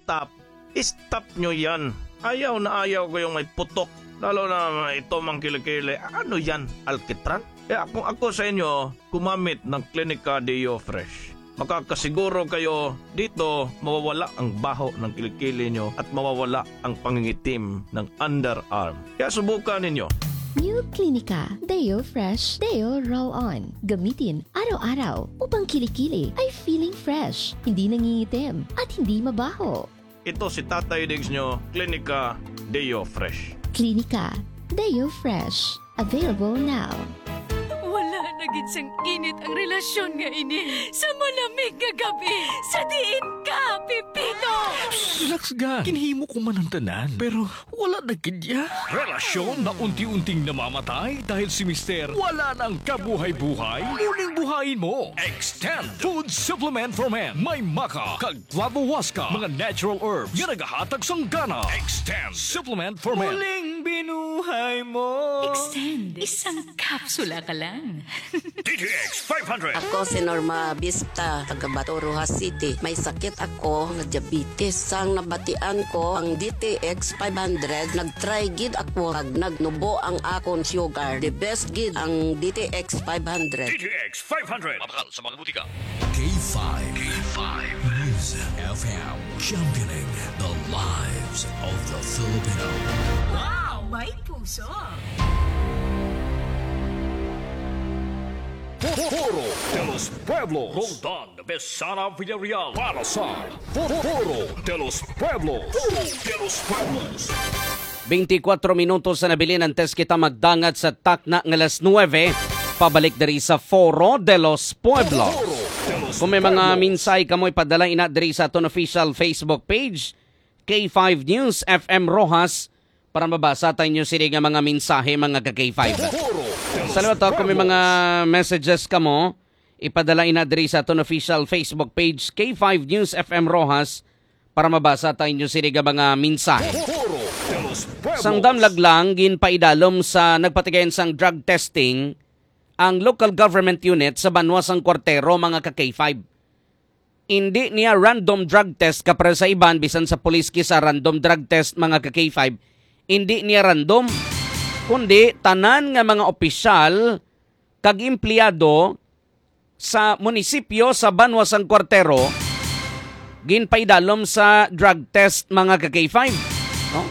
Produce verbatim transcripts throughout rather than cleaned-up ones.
stop, stop nyo yan. Ayaw na ayaw ko yung may putok. Lalo na ito, mga kilikili. Ano yan? Alkitran? Kaya kung ako sa inyo, gumamit ng Clinica Deo Fresh. Makakasiguro kayo dito, mawawala ang baho ng kilikili nyo at mawawala ang pangingitim ng underarm. Kaya subukan ninyo. New Clinica Deo Fresh Deo Roll On. Gamitin araw-araw upang kilikili ay feeling fresh, hindi nangingitim, at hindi mabaho. Ito si Tatay Diggs nyo, Klinika Deo Fresh. Klinika Deo Fresh. Available now. Wala na gid sang init ang relasyon nga ini sa malamig nga gabi. Sa diin ka, Pipito? Relax, ga. Ginhimo ko man ang tanan, pero wala na gid ya. Relasyon na unti-unting namamatay dahil si Mister wala nang kabuhay-buhay. Muling buhayin mo. Extend Food Supplement for Men. May maca kag Clavo Huasca, mga natural herbs nga nagahatag sang gana. Extend Supplement for Men. Muling binuhay mo. Extend. Isang kapsula ka lang. D T X five hundred. Ako si Norma Vista, taga Bato, Roxas City. May sakit ako nga diabetes. Sang nabatian ko ang D T X five hundred, nag-try gid ako kag nagnubo ang akon sugar. The best gid ang D T X five hundred. D T X five hundred. Mabakal sa mga butika. K five. K five News F M. Championing the lives of the Filipino. Wow! May puso! Foro de los Pueblos. Roldan Besana Villarreal para sa Foro de los Pueblos. Foro de los Pueblos. Twenty-four minutos na nabilin, antes kita magdangat sa takna nga alas nuebe, pabalik diri sa Foro de los Pueblos. Kung may mga mensahe kamo, ipadala ina diri sa aton official Facebook page, K five News F M Roxas, para mabasa ta inyo sini nga mga mensahe, mga ka K five. Sa liwat, kung may mga messages kamo, ipadala ina diri sa aton official Facebook page, K five News F M Roxas, para mabasa ta inyo sini nga mga mensahe. Sang damlag lang, ginpaidalom sa nagpatigayon sang drug testing ang local government unit sa banwa sang Cuartero, mga ka K five. Indi niya random drug test, kapre sa iban, bisan sa pulis kisa random drug test, mga ka K five. Indi niya random, kundi tanan nga mga opisyal kag empleyado sa munisipyo sa banwa sang Cuartero ginpaidalom sa drug test, mga ka K five, no?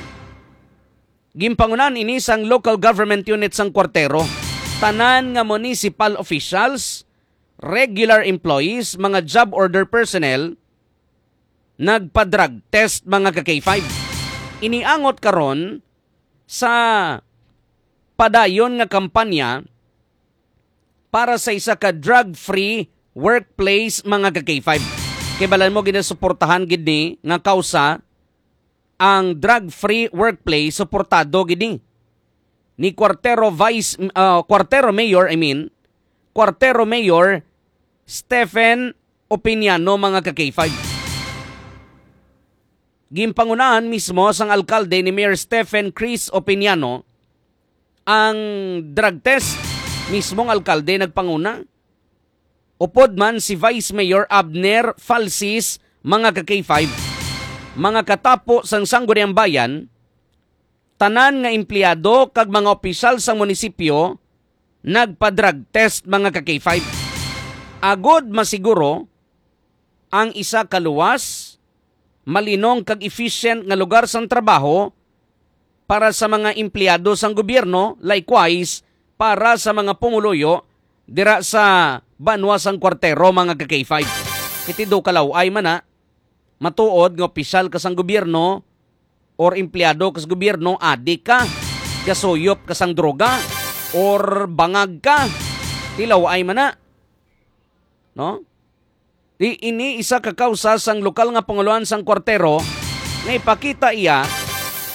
Ginpangunahan ini sang local government unit sang Cuartero. Tanan nga municipal officials, regular employees, mga job order personnel, nagpa-drug test, mga ka K five. Iniangot karon sa padayon nga kampanya para sa isa ka drug-free workplace, mga ka K five. Kay balan mo, ginasuportahan gid ni nga kausa ang drug-free workplace, suportado gid ni, ni Cuartero Vice, ah, Cuartero Mayor, I mean, Cuartero Mayor Stephen Opiniano, mga ka K five. Ginpangunahan mismo sang alkalde ni Mayor Stephen Chris Opiniano ang drug test. Mismong alkalde nagpanguna. Upod man si Vice Mayor Abner Falsis, mga ka K five, mga katapo sang Sangguniang Bayan, tanan nga empleyado kag mga opisyal sang munisipyo nagpa-drug test, mga ka K five. Agod masiguro ang isa ka luwas, malinong kag efficient nga lugar sang trabaho para sa mga empleyado sang gobyerno, likewise para sa mga pumuluyo dira sa banwa sang Cuartero, mga ka K five. Kay tido ka law-ay man na, matuod nga opisyal ka sang gobyerno or empleyado ka sa gobyerno, adik ka, gasuyop ka sang droga, or bangag ka, tilaw-ay man na. No? Di ini isa ka kausa sang lokal nga pangulohan sang Cuartero nga ipakita iya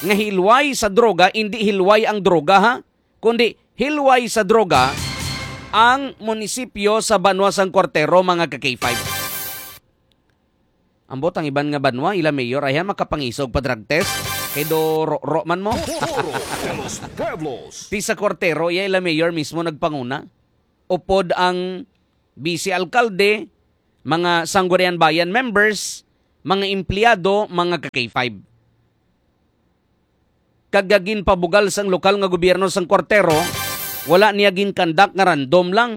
nga hilway sa droga, indi hilway ang droga, ha, kundi hilway sa droga ang munisipyo sa banwa sang Cuartero, mga ka K five. Ambot ang iban nga banwa, ila mayor, ay makapangisog pa drug test. Kay do ro-, ro man mo. Foro de los Pueblos. Ti sa Cuartero, iya ila mayor mismo nagpanguna. Upod ang vice alkalde, mga Sangguniang Bayan members, mga empleyado, mga ka-K five. Kag ginpabugal sang lokal nga gobyerno sang Cuartero, wala niya ginkandak nga random lang,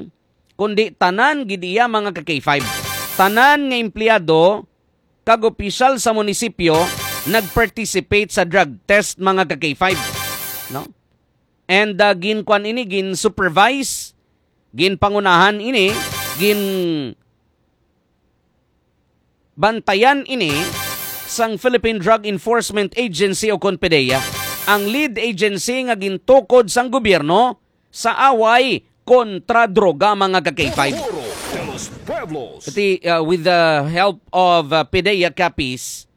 kundi tanan gid iya, mga ka-K five. Tanan nga empleyado kag opisyal sa munisipyo nag-participate sa drug test, mga ka-K five, no? And, ah, ginkuan ini, gin-supervise, ginpangunahan ini, gin bantayan ini sang Philippine Drug Enforcement Agency o kon PDEA, ang lead agency nga gintukod sang gobyerno sa away kontra droga, mga ka-K five. Puro de los Pueblos. Iti, uh, with the help of, uh, PDEA Capiz,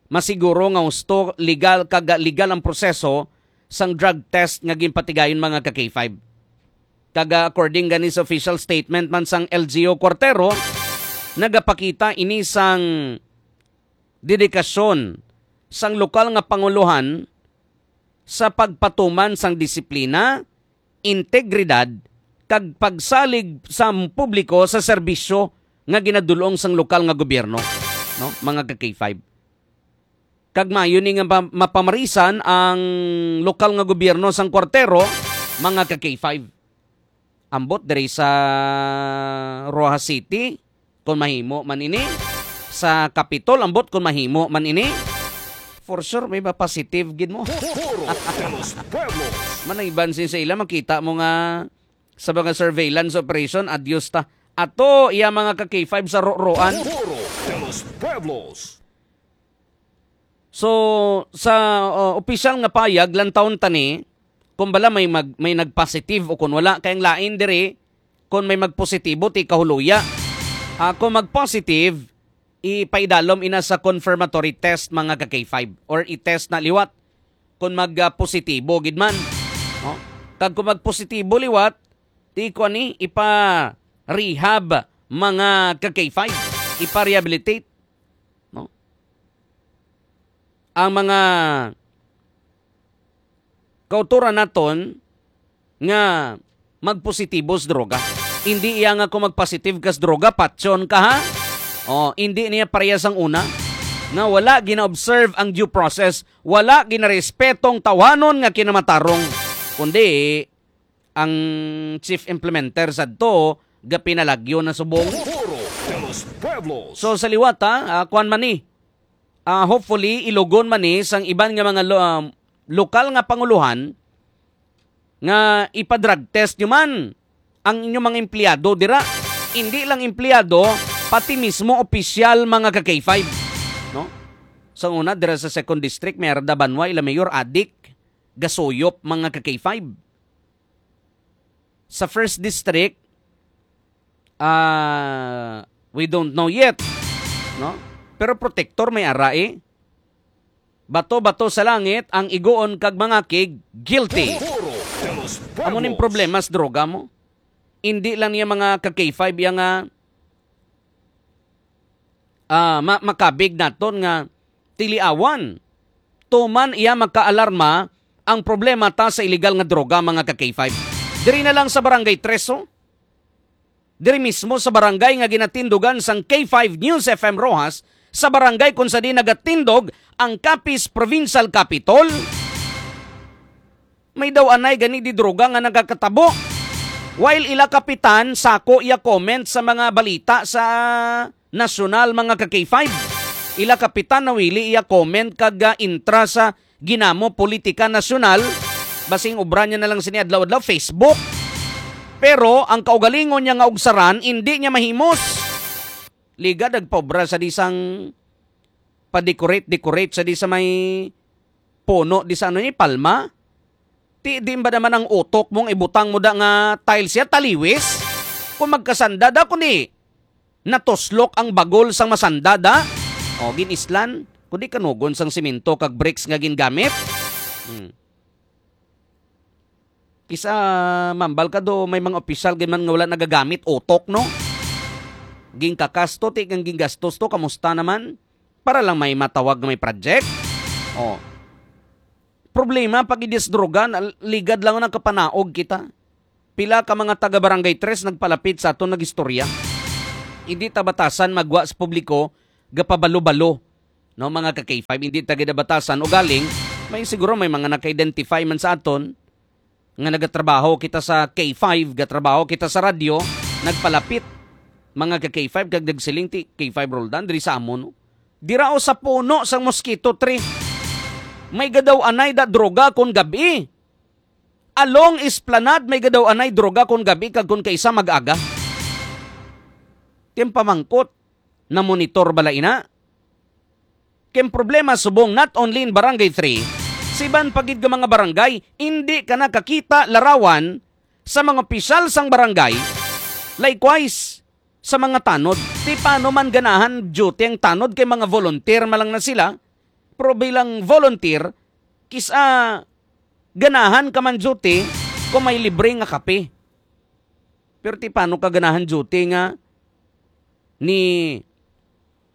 masiguro nga husto, legal, kag legal ang proseso sang drug test nga ginpatigayon, mga ka-K five. Kag, ah, according gani sa official statement man sang L G U Cuartero, nagapakita ini sang dedikasyon sang lokal nga pangulohan sa pagpatuman sang disiplina, integridad, kag pagsalig sa publiko sa serbisyo nga ginadul-ong sang lokal nga gobyerno, no, mga ka-K five. Kag maayo ni nga ma-, mapamarisan ang lokal nga gobyerno sang Cuartero, mga ka-K five. Ambot diri sa Roxas City, kung mahimo man ini, sa Capitol, ambot kung mahimo man ini, for sure, may ma-positive gid mo. Puro de los Pueblos. Manayban sin sa ila, makita mo nga sa mga surveillance operation, adios ta. Ato, iya mga ka-K five sa Roa-Roan. Puro de los Pueblos. So, sa, uh, opisyal nga payag, lantawon ta ni, kung bala may mag-, may nag-positive o kung wala, kay ang lain diri, kung may magpositibo, ti kahuloya. Ah, kung mag-positive, ipaidalom ina sa confirmatory test, mga ka-K five, or i-test na liwat kung mag, ah, positibo gid man. No? Kag kung magpositibo liwat, ti kuan ni, ipa-rehab, mga ka-K five, ipa-rehabilitate. No? Ang mga kautoran naton nga magpositibo sa droga. Hindi iya nga kung magpositive ka sa droga, patyon ka, ha? Oh, hindi niya pareha sang una nga wala gina-observe ang due process, wala ginarespeto ang tawhanon nga kinamatarong, kundi ang chief implementer sadto gapinalagyo na subong. Puro de los Pueblos. So, sa liwat, ha, ah, kuwan man ni, ah, hopefully, ilugon man ni sang iban nga mga lo-, ah, lokal nga panguluhan nga ipa-drug test nyo man ang inyong mga empleyado dira. Hindi lang empleyado, pati mismo opisyal, mga ka-K five. No? Sa una, dira sa Second District, may Arda Banwa, ila mayor, adik, gasuyop, mga ka-K five. Sa First District, ah, we don't know yet, no? Pero protector may ara, eh. Bato-bato sa langit ang iguon kag mangakig, guilty. Puro de los Pueblos. Amo ning problema sa droga mo. Hindi lang niya mga ka-K five iya nga, ah, ma-, makabig naton nga tiliawan. Tuman iya makaalarma ang problema ta sa iligal nga droga, mga ka-K five. Diri na lang sa Barangay Tres, oh. Diri mismo sa barangay nga ginatindugan sang K five News F M Roxas, sa barangay kung sa di nagatindog ang Capiz Provincial Capitol, may daw anay gani di droga nga nagakatabo. While ila kapitan, sako iya comment sa mga balita sa nasyonal, mga ka-K five. Ila kapitan nawili iya comment kag, ah, intra sa ginamo politika nasyonal. Basing obra niya na lang sini adlaw-adlaw, Facebook. Pero ang kaugalingon niya nga ugsaran, indi niya mahimos. Liga nagpaobra sa di sang pa-decorate-decorate sa di sa may puno di sa ano ni palma. Ti, di ba naman ang utok mong ibutang mo da nga tiles siya, taliwis? Kung magkasanda da, kundi natuslok ang bagol sang masanda da? O, gin-islan, kundi kanugon sang simento kag bricks nga gingamit? Hmm. Kisa mambal ka do, may mga opisyal gid man nga wala nagagamit utok, no? Gingkakas to, ti, ang ginggastos to, kamusta naman? Para lang may matawag nga may project? Oh. Problema, pag idis droga, na-, ligad lang nakapanaog kita. Pila ka mga taga Barangay Tres nagpalapit sa aton, nagistorya. Hindi ta batasan magwa sa publiko gapabalo-balo, no, mga ka K five, hindi ta gid nabatasan. Ugaling, may siguro may mga naka-identify man sa aton nga nagatrabaho kita sa K five, gatrabaho kita sa radyo, nagpalapit, mga ka K five, kag nagsiling ti K five Roldan, diri sa amon, no? Dira o sa puno sang mosquito tree. May gadaw anay da droga kon gabi. Along Esplanade, may gadaw anay droga kon gabi kag kon kaisa mag-aga. Ti ang pamangkot, na-monitor bala ina? Kay ang problema subong not only in Barangay three, sa iban pa gid nga mga barangay, indi ka nakakita larawan sa mga opisyal sang barangay. Likewise, sa mga tanod. Ti paano man ganahan duty ang tanod kay mga volunteer man lang na sila, pero bilang volunteer, kis-a ganahan ka man duty kung may libre nga kape. Pero ti paano ka ganahan duty nga ni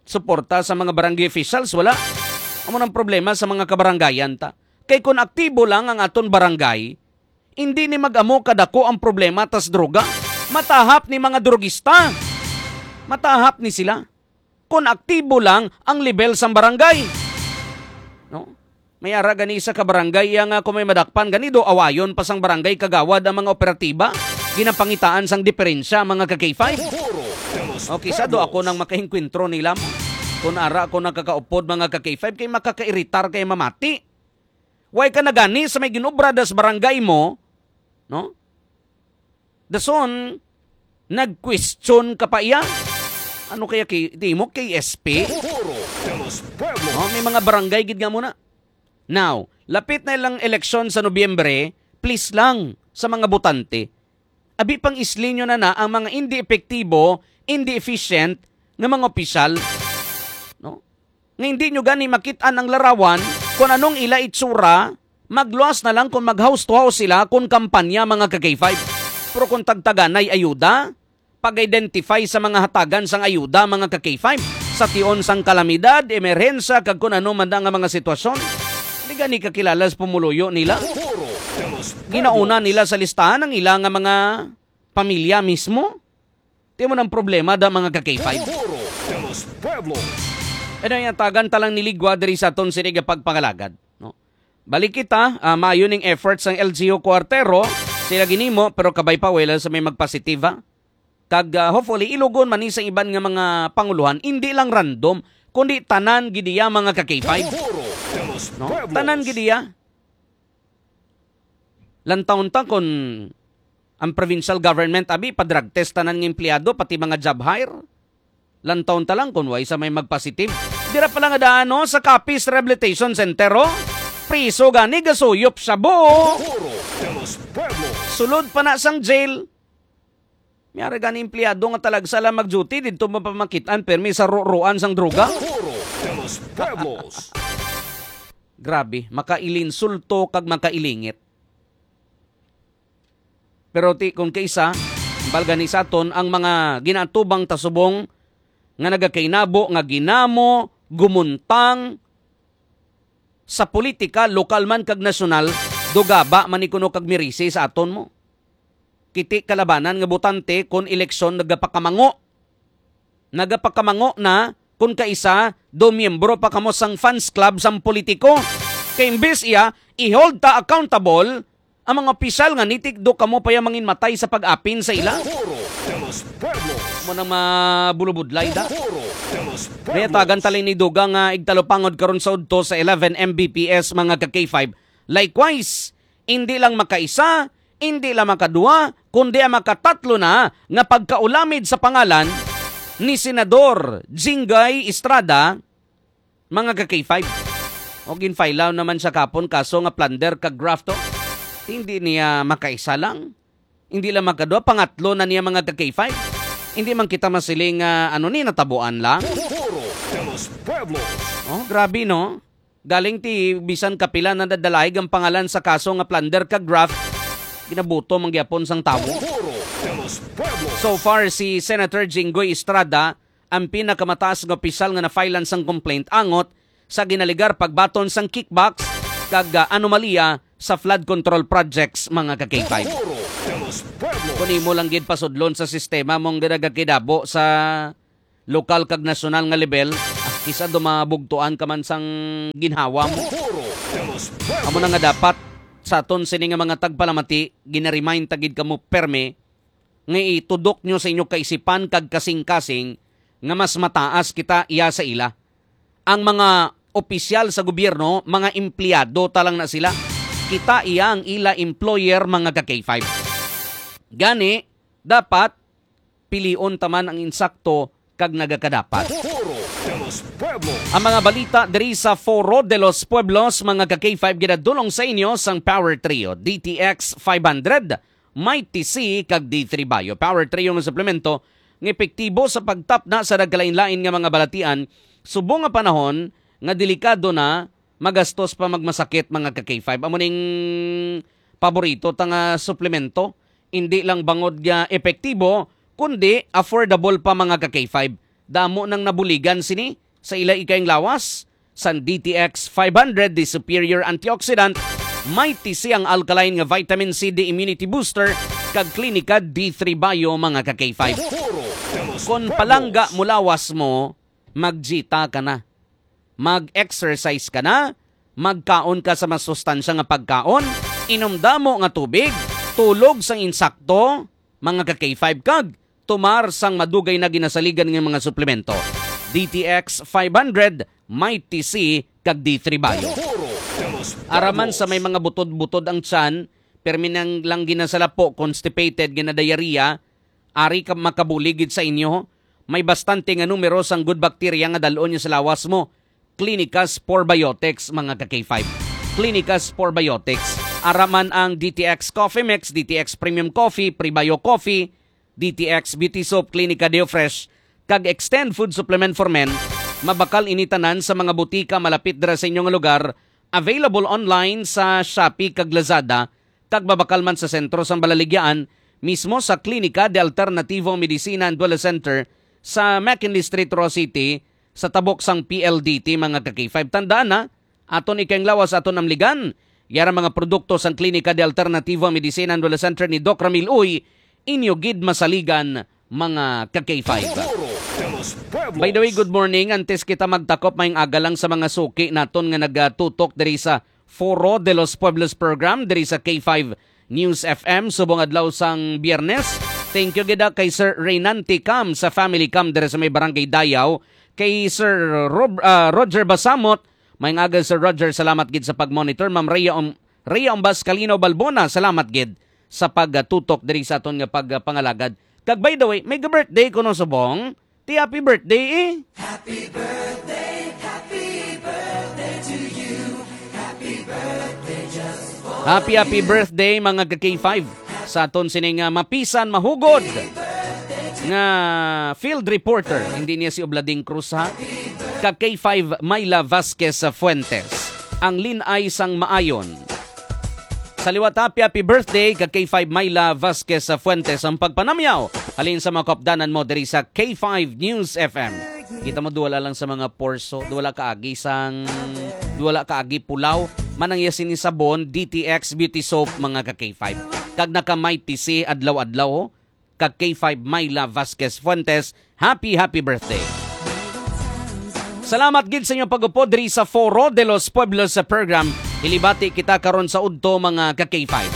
suporta sa mga barangay officials? Wala. Amo nang problema sa mga kabarangayan ta. Kay kun aktibo lang ang aton barangay, hindi ni mag-amo kadako ang problema tas droga. Matahap ni mga drogista. Matahap ni sila. Kun aktibo lang ang level sang barangay. No? May ara gani sa kabarangay iya nga kung may madakpan gani do awayon pa sang barangay kagawad ang mga operatiba. Ginapangitaan sang diferensya, mga ka K five. Okay, sa do ako nang makaengkwentro nila mo. Kun ara ako nakakaupod, mga ka K five, kay makakairitar kay mamati. Way ka na gani sa may ginobra das barangay mo, no? Dason, nag-question ka pa iya? Ano kaya kay, di mo, K S P? Puro de los Pueblos. Oh, may mga barangay gid nga muna. Now, lapit na ilang eleksyon sa Nobyembre, please lang sa mga botante. Abi pang islinyo na na ang mga hindi epektibo, hindi efficient nga mga opisyal. No? Nga hindi nyo gani makit-an ang larawan kung anong ila itsura, magluwas na lang kung mag-house to house sila kung kampanya, mga ka K five. Pero kung tagtaganay ayuda, pag-identify sa mga hatagan sang ayuda, mga ka K five, sa tion sang kalamidad, emerhensya, kag kung ano man nga mga sitwasyon, di gani kakilala sa pumuluyo nila. Ginauna nila sa listahan ang ila nga mga pamilya mismo. Ti mo nang problema da, mga ka K five. Puro de los Pueblos. Ano yung tagan talang niligwa diri sa aton sini nga pagpangalagad, no? Balik kita, ah, maayo ning efforts sang L G U Cuartero, sila ginimo, pero kabay pa, wala sa may magpositiva. Kag, ah, hopefully, ilugon man ni sa iban nga mga panguluhan, hindi lang random, kundi tanan gid iya, mga ka K five. Puro de los No? Pueblos. Tanan gid iya. Lantawon ta kon ang provincial government, abi, pa-drug test tanan nga empleyado, pati mga job hire. Lantawon ta lang kon way sa may magpositive. Dira pa lang nga daan, no, sa Capiz Rehabilitation Center, oh. Priso gani, gasuyop shabu. Puro de los Pueblos. Sulod pa na sang jail. May ara gani empleyado nga talagsa lang mag-duty, didto mo pa makit-an, permi sa ruruan sang droga. Puro de los Pueblos. Grabe, makailinsulto kag makailingit. Pero ti, kung kaisa, balga ni sa aton, ang mga ginaatubang ta subong nga nagakainabo nga ginamo, gumuntang sa politika, lokal man kag nasyonal, dugaba man ni kuno kag mirisi sa aton mo. Kiti kalabanan nga botante kon eleksyon nagapakamango. Nagapakamango na kon kaisa do miyembro pa kamo sang fans club sang politiko. Kay imbes iya, i-hold ta accountable ang mga opisyal nga nitik do kamo pa ya manginmatay sa pag-apin sa ila. Puro de los Pueblos. Mo nang mabulubudlay da. Puro de los Pueblos. May atagan tali ni Duga nga igtalupangod karon sa udto sa eleven M B P S, mga ka K five. Likewise, hindi lang makaisa, hindi lang makadua, kundi ang makatatlo na nga pagkaulamid sa pangalan ni Senador Jinggoy Estrada, mga ka K five. O ginfile naman siya kapon kaso nga plunder kag graft, oh. Hindi niya makaisa lang. Hindi lang makadua, pangatlo na niya, mga ka K five. Hindi man kita masiling nga ano ni natabuan lang. Puro de los Pueblos. Oh, grabe, no? Galing ti bisan kapila na nadalaig ang pangalan sa kaso nga plunder kag graft, ginabuto man gyapon sang tawo. Puro de los Pueblos. So far, si Senator Jinggoy Estrada ang pinakamataas nga opisyal nga na-filean sang complaint angot sa ginaligar pagbaton sang kickbacks kag, ah, anomalya sa flood control projects, mga ka K five. Puro de los Pueblos. Kung imo lang gid pasudlon sa sistema mong nagakinabo sa lokal kag nasyonal nga level, Kisa dumabugtuan ka man sang ginhawa mo. Amo na nga dapat sa aton sini nga mga tagpalamati, ginaremind ta gid kamo permi nga itudok nyo sa inyo kaisipan kag kasing-kasing nga mas mataas kita iya sa ila. Ang mga opisyal sa gobyerno, mga empleyado ta lang na sila. Kita iya ang ila employer, mga ka K five. Gani, dapat pilion ta man ang insakto kag nagakadapat. Ang mga balita diri sa Foro de los Pueblos, mga ka K five, ginadulong sa inyo sang Power Trio, D T X five hundred, Mighty C, kag D three Bio. Power Trio nga suplemento nga epektibo sa pagtapna sa nagkalain-lain nga mga balatian, subong nga panahon nga delikado na magastos pa magmasakit, mga ka K five. Amo ning paborito ta nga suplemento. Hindi lang bangod nga epektibo, kundi affordable pa, mga ka K five. Damo nang nabuligan sini sa ila ikayang lawas. San D T X five hundred, the superior antioxidant, may tisi ang alkaline nga vitamin C D immunity booster, kag Klinika D three Bio, mga ka K five. Kon palangga mo lawas mo, magjita ka na. Mag-exercise ka na, magkaon ka sa masustansya nga pagkaon, inom damo nga tubig, tulog sang insakto, mga ka K five, kag tumar sang madugay na ginasaligan nga mga suplemento. D T X five hundred, may T C, kag D three Bio. Araman sa may mga butod-butod ang tiyan, permi nang lang ginasalapo, constipated, ginadiarrhea, ari ka makabulig gid sa inyo. May bastante nga numero sang good bacteria nga dal-on niyo sa lawas mo. Clinicas Probiotics, mga ka K five. Clinicas Probiotics. Araman ang D T X Coffee Mix, D T X Premium Coffee, Prebio Coffee, D T X Beauty Soap, Clinica Deo Fresh, kag Extend Food Supplement for Men. Mabakal ini tanan sa mga butika malapit dira sa inyo nga lugar. Available online sa Shopee kag Lazada, kag mabakal man sa sentro sang Balaligyaan, mismo sa Klinika de Alternativo Medicina and Wellness Center sa McKinley Street, Roxas City, sa tabok sang P L D T, mga ka K five. Tandaan na, aton ikayang lawas, aton amligan. Yara mga produkto sang Klinika de Alternativo Medicina and Wellness Center ni Doc Ramil Uy, inyo gid masaligan, mga ka K five. By the way, good morning. Antes kita magtakop, maayong aga lang sa mga suki naton nga nagatutok diri sa Foro de los Pueblos program diri sa K five News F M subong adlaw sang Biyernes. Thank you gid, ah, kay Sir Reynante Cam sa Family Cam diri sa may Barangay Dayaw, kay Sir Rob-, ah, Roger Basamot. Maayong aga, Sir Roger, salamat gid sa pag-monitor. Ma'am Rhea Om-, Rhea Ombas Calino Balbona, salamat gid sa pagtutok diri sa aton nga pagpangalagad. Kag by the way, may birthday kuno subong. Ti happy birthday, eh. Happy birthday, happy birthday to you. Happy birthday just for Happy, happy you. Birthday, mga ka K five. Sa aton sining, ah, mapisan, mahugod nga field reporter. Hindi niya si Oblading Cruz, ha. Ka K five, Myla Vasquez Fuentes. Ang linay sang maayon. Sa liwat, happy, happy birthday ka K five Myla Vasquez Fuentes, ang pagpanamyaw halin sa mga kaupdanan mo diri sa K five News F M. Kita mo, duwala lang sa mga porso, duwala kaagi sang, duwala kaagi pulaw. Manang iya sini sabon, D T X Beauty Soap, mga ka K five. Kag naka Mighty C adlaw-adlaw, oh. Kag K five Myla Vasquez Fuentes, happy, happy birthday. Salamat gid sa inyong pag-upod diri sa Foro de los Pueblos sa program. Hilibati kita karon sa udto, mga ka K five.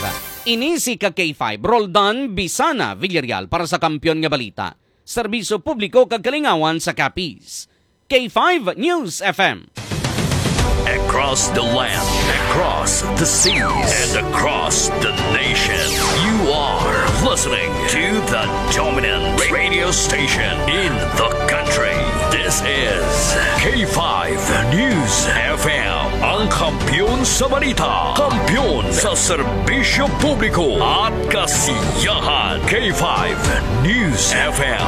Ini si ka K five, Roldan Bisana Villarreal para sa Kampiyon nga Balita, Serbisyo Publiko kag Kalingawan sa Capiz. K five News F M. Across the land, across the seas, and across the nation, you are listening to the dominant radio station in the country. This is K five News F M, ang kampiyon sa balita, kampiyon sa serbisyo publiko at kasiyahan. K five News F M.